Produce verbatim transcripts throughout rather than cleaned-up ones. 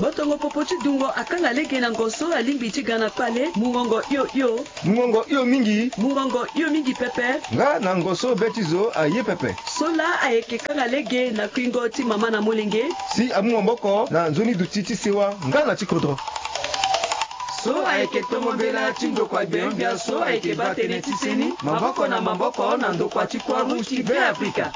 Botongo popo ti dungo akanga lege na ngo so alingbi ti ga na kpale. Mungongo hio hio. Mungongo hio mingi. Mungongo hio mingi pepe. Nga na ngo so be ti zo aye pepe. So laa ayeke kanga lege na kuingo ti mama na molenge. Si amu maboko na nzoni duti ti sewa nga na ti kodro. So ayeke tongo mbela ti ndokua gbenyogbia so ayeke baa tënë ti seni maboko na maboko na ndokua ti Croix Rouge ti Beafrika.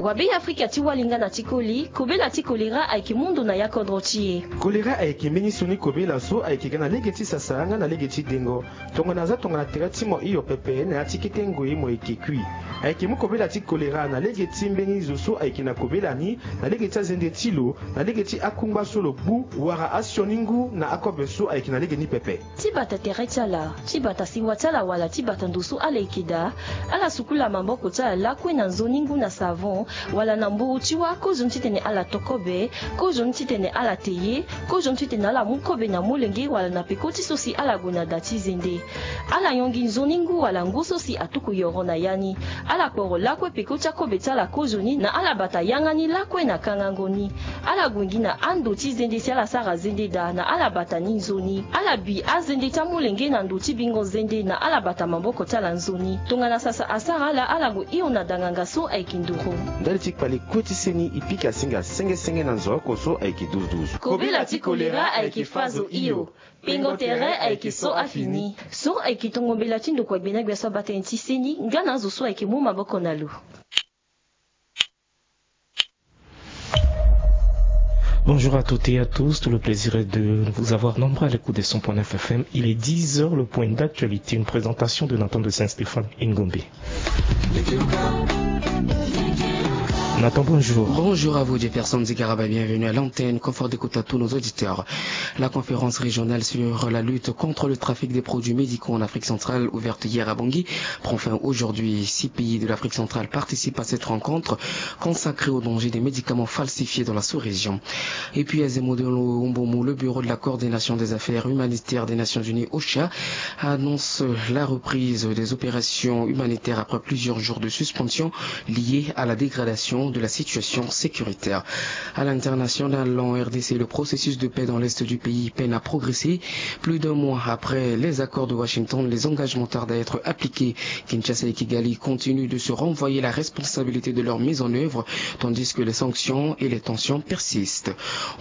Wa Beafrika ti wali nga na ti koli, kobela ti kolera ayeke mu ndo na ya kodro ti e. Kolera ayeke mbeni sioni kobela so ayeke ga na lege ti sasa nga na lege ti dengo. Tongana aza tongana tere ti mo hio pepe na ya ti kete ngoi mo yeke kui. Ayeke mu kobela ti kolera na lege ti mbeni zo so ayeke na kobela ni, na lege ti azende ti lo, na lege ti akungba so lo gbu, wala asioni ngu na akobe so ayeke na lege ni pepe. Ti bata tere ti ala, ti bata sewa ti ala wala ti bata ndo so ala yeke daa, ala sukula maboko ti ala lakue na nzoni ngu na savon, wala na mburu ti wâ, kozoni titene ala to kobe, kozoni titene ala te ye, kozoni titene ala mu kobe na molenge wala na peko ti so si ala gue na da ti zende. Ala yongi nzoni ngu wala ngu so si atuku yoro na ya ni. Ala kporo lakue peko ti akobe ti ala kozoni na ala bata yanga ni lakue na kangango ni. Ala gue gi na ando ti zende si ala sara zende daa na ala bata ni nzoni. Ala bi azende ti amolenge na ndo ti bingo zende na ala bata maboko ti ala nzoni. Tongana sasa asara ala, ala gue hio na danganga so ayeke nduru. Ndali ti kpale kue ti seni e pika singa senge senge na nzo oko so ayeke douze douze. Kobela ti kolera ayeke fa zo hio. Pengo tere ayeke so afini. So ayeke tongo mbela ti ndokua gbenyogbia so abaa tënë ti seni nga na azo so ayeke mu maboko na lo. Bonjour à toutes et à tous, tout le plaisir est de vous avoir nombreux à l'écoute de cent point neuf F M. Il est dix heures, le point d'actualité, une présentation de Nathan de Saint-Stéphane Ingombe. Nathan, bonjour. Bonjour à vous, Jefferson Zigaraba, bienvenue à l'antenne. Confort d'écoute à tous nos auditeurs. La conférence régionale sur la lutte contre le trafic des produits médicaux en Afrique centrale, ouverte hier à Bangui, prend fin aujourd'hui. Six pays de l'Afrique centrale participent à cette rencontre consacrée au danger des médicaments falsifiés dans la sous-région. Et puis à Zemodolo Umbomo, le bureau de la coordination des affaires humanitaires des Nations Unies, OCHA, annonce la reprise des opérations humanitaires après plusieurs jours de suspension liées à la dégradation de la situation sécuritaire. À l'international, en R D C, le processus de paix dans l'est du pays peine à progresser. Plus d'un mois après les accords de Washington, les engagements tardent à être appliqués. Kinshasa et Kigali continuent de se renvoyer la responsabilité de leur mise en œuvre, tandis que les sanctions et les tensions persistent.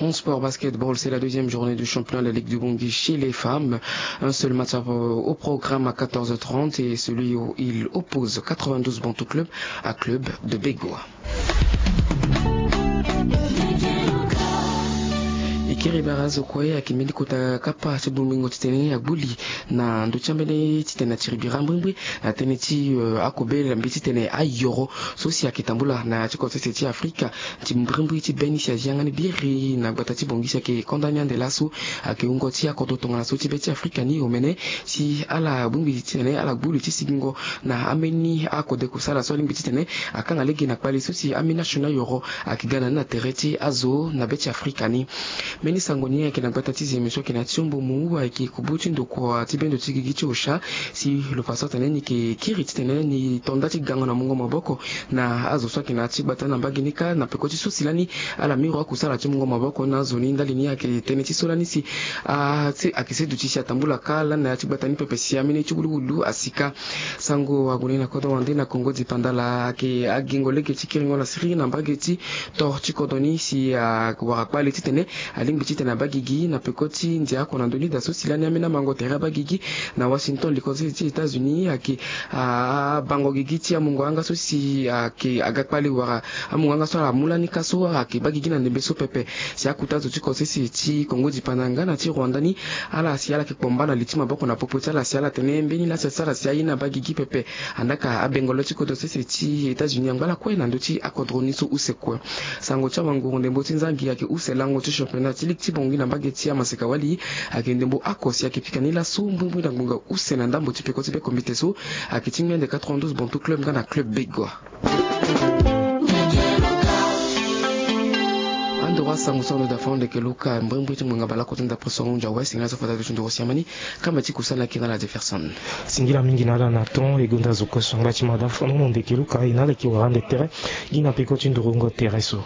En sport basketball, c'est la deuxième journée du championnat de la Ligue du Bangui chez les femmes. Un seul match au programme à quatorze heures trente et celui où il oppose quatre-vingt-douze Bantou Club à Club de Begoua. E kiri bara azo kue ayeke mbeni kota kapa ti bongbingo titene agbuli na ndö ti ambeni titene atiri bira mbrimbri na tënë ti, eh, akobela mbi titene ayoro so si ayeke tambula na ya ti kodro sese ti Afrika. Ti mbrimbri ti be ni si azi yanga ni biri na gbata ti Bangui si ayeke konda ni ande laso ayeke wungo ti akodro tongana so ti be ti Afrika ni omene si ala bongbi titene ala gbu li ti sigingo na ambeni akode kusala so alingbi titene akanga lege na kpale so si ambeni asioni ayoro ayeke ga na ni na tere ti azo na be ti Afrika ni. Mbeni sango ni ayeke na gbata ti Zeme so ayeke na ya ti Umbomo ayeke kubu ti ndokua ti bendo ti gigi ti OCHA si lo fa so atene ni yeke kiri titene ni to nda ti gango na mungo maboko na azo so ayeke na ya ti gbata ni na mbage ni kâ na peko ti so si lani ala miro akusala ti mungo maboko na azo ni ndali ni ayeke tënë ti so lani si a, si ayeke se duti si atambula kâ lani na ya ti gbata ni pepe si ambeni ti wuluwulu asi kâ. Sango ague ni na kodro wande na Kongo dipanda laa ayeke agingo lege ti kiringo na siriri na mbage ti to ti kodro ni si awara kpale titene alingbi titene abaa gigi na peko ti ndia oko na ndö ni daa so si lani ambeni amango tere abaa gigi na Washington, likolo ti États-Unis ayeke abango gigi ti amungo yanga so si ayeke aga kpale wala amungo yanga so ala mu lani kâ so ayeke baa gigi na ndembe so pepe. Si akuta azo ti kodro sese ti Kongo dipanda nga na ti Rwanda ni ala si ala yeke kpomba na li ti maboko na popo ti ala si ala tene mbeni laa si asara si aye na abaa gigi pepe. Andaa ka abengolo ti kodro sese ti États-Unis angba lakue na ndö ti akodro ni so use kue. Sango ti awanguru ndembo ti nzangi ayeke use lango ti championnat ti ligue ti Bangui na mbage ti amaseka wali. Ayeke ndembo oko si ayeke pika ni laso mbrimbri na ngbonga use na ndambo ti peko ti be komite so ayeke ti ngbende quatre-vingt-douze Bantou Club nga na Club Begoua. Toro asango so ando dafa ndo ndeke luka mbrimbri ti ngbanga baleoko ti ndapre so ahunzi awe singila so fata do ti ndoro siamani. Kama ti kusala na kiri na ala Jefferson. Singila mingi na ala na ton e gonda zo koso ngba ti madafa nono ndeke luka e na ala yeke wara ande tere. Gi na peko ti ndoro ngo tere so.